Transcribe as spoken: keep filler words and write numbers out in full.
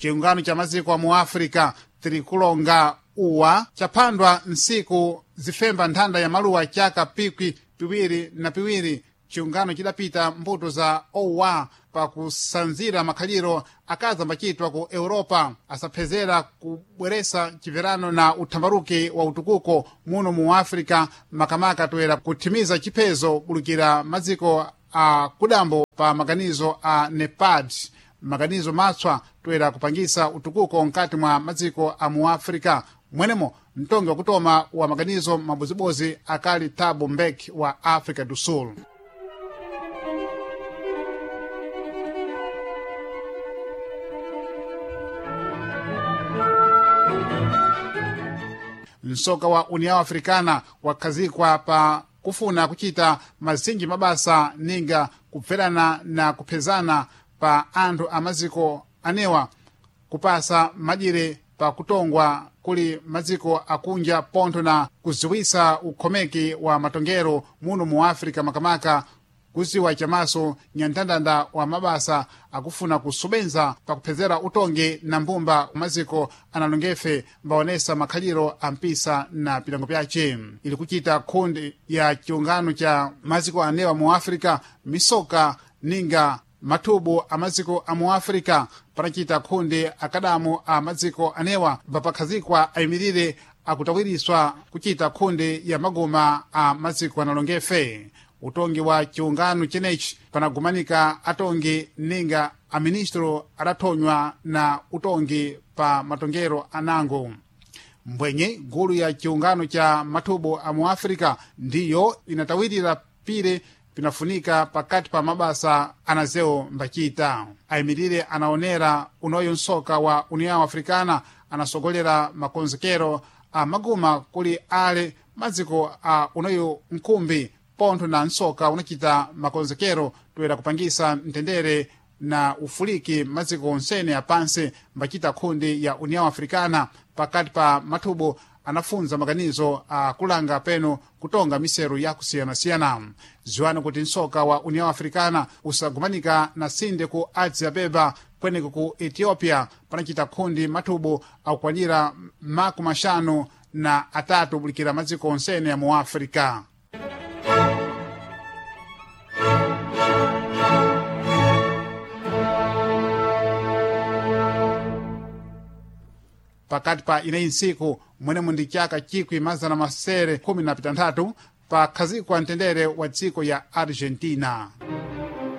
Chiungano cha maziko a mu Africa tirikulonga uwa chaphandwa nsiku zifemba nthanda ya maluwa chaka pikwi piwiri na piwiri. Chiungano chidapita mbuto za owa pakusanzira makhaliro akazi ambachitwa ku Europa asaphezera kubweresa chimverano na uthambaruki wa utukuko muno mu Africa, makamaka toera kuthimiza chiphezo bulukira maziko a kudambo pa maganizo a NEPAD, maganizo matswa toera kupangisa utukuko mkati mwa maziko a mu Africa. Mwenemo mtongi wakutoma wa maganizo mabozibozi akali Thabo Mbeki wa Africa do Sul. Msoka wa União Africana wakhazikwa pa kufuna kuchita mazinji mabasa ninga kupferana na kuphezana pa anthu a maziko anewa, kupasa madyire pa kutongwa kuli maziko akunja pontho na kuziwisa ukhomeki wa matongero muno mu Africa, makamaka kuziwa chamaso nyandandanda wa mabasa akufuna kusobenza pakuphezera utongi na mbumba maziko analongefe mbaonesa makhaliro ampisa na pilango pyace. Ili kuchita khundi ya chiungano cha maziko anewa mu Africa misoka ninga mathubu a maziko a mu Africa panachita khundi akadamu a maziko anewa mbapakhazikwa ayimirire akutawiriswa kuchita khundi ya maguma a maziko analongefe. Utongi wa chiungano chenechi panagumanika atongi ninga aministro adathonywa na utongi pa matongero anango. Mbwenye gulu ya chiungano cha mathubu a mu Africa ndiyo inatawirira pire pinafunika pakati pa mabasa anazewo mbachita. Ayimirire anaonera unoyo msoka wa União Africana anasogolera makonzekero a maguma kuli ale maziko a unoyo nkhumbi pontho na msoka unachita makonzekero toera kupangisa mtendere na ufuliki maziko onsene apansi mbachita khundi ya União Africana pakati pa mathubu anafunza maganizo akulanga peno kutonga miseru yakusiyanasiyana. Ziwani kuti msoka wa União Africana usagumanika na sinde ku Addis Abeba kweneko ku Ethiopia panachita khundi mathubu akukwanira makumi axanu na atatu bulikira maziko onsene ya mu Africa. Pakati pa ineyi ntsiku mwenemo ndi chaka chikwi mazana masere khumi na pitanthatu pakhazikwa mtendere wa dziko ya Argentina.